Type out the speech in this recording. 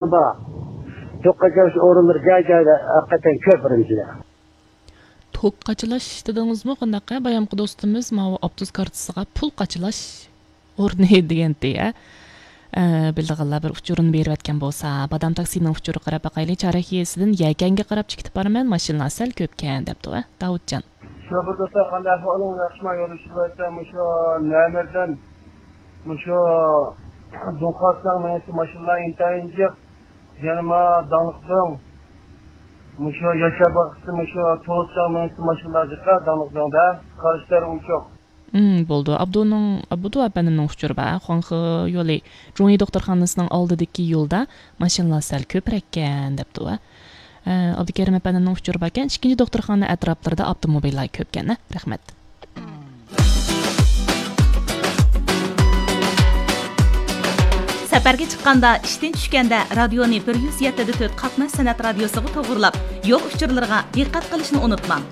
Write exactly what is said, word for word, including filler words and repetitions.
بار. توك قاچىلاش ئورۇنلىرى جاي-جايدا ھەقىقەتەن كۆپ ئۈرۈمچىدە. توك قاچىلاش دېدىڭىزمۇ؟ قانداق؟ بايامقى دوستىمىز ماۋۇ ئاپتوبۇس كارتىسىغا پۇل قاچىلاش ئورنى دېگەنتى، ھە؟ ئە، بىلىدىغانلار بىر ئۇچۇرىنى بېرىۋەتكەن بولسا، بادام تاكسىنىڭ ئۇچۇرىغا قاراپ باقايلى. چارەك يېزىسىدىن يەكەنگە قاراپ چېكىتىپ بارىمەن، ماشىنىلار سەل كۆپكەن، دەپتۇ، ھە، داۋۇتجان. شوپۇر دوستلار، قانداق ئەھۋالىڭ؟ ياخشىما؟ يولۇشۇۋاتسا، مۇشۇ نەمەردىن، مۇشۇ دۇڭخاسنىڭ مېڭىشى ماشىنىلار ئىنتايىن جىق. يەنە ما داڭلىق دۆڭ. مۇشۇ ياشار باغچىسى، مۇشۇ توساڭ مېڭىشى ماشىنىلار جىق، داڭلىق دۆڭدە. قارشى تەرەپ ئوچۇق. ئىم، بولدى. ئابدۇنىڭ، ئابدۇ ئەپەندىمنىڭ ئۇچۇرى بار. خۇاڭخې يولى جۇڭيى دوختۇرخانىسىنىڭ ئالدىدىكى يولدا ماشىنىلار سەل كۆپرەككەن، دەپتۇ. ئە، ئابدۇكېرىم ئەپەندىمنىڭ ئۇچۇرى باركەن. ئىككىنچى دوختۇرخانا ئەتراپلىرىدا ئاپتوموبىللار كۆپكەن، ھە؟ رەھمەت. سەپەرگە چىققاندا، ئىشتىن چۈشكەندە رادىيونى بىر يۈز يەتتە دە تۆت قاتناش سەنئەت رادىيوسىغا توغرىلاپ، يول ئۇچۇرلىرىغا دىققەت قىلىشنى ئۇنتۇماڭ.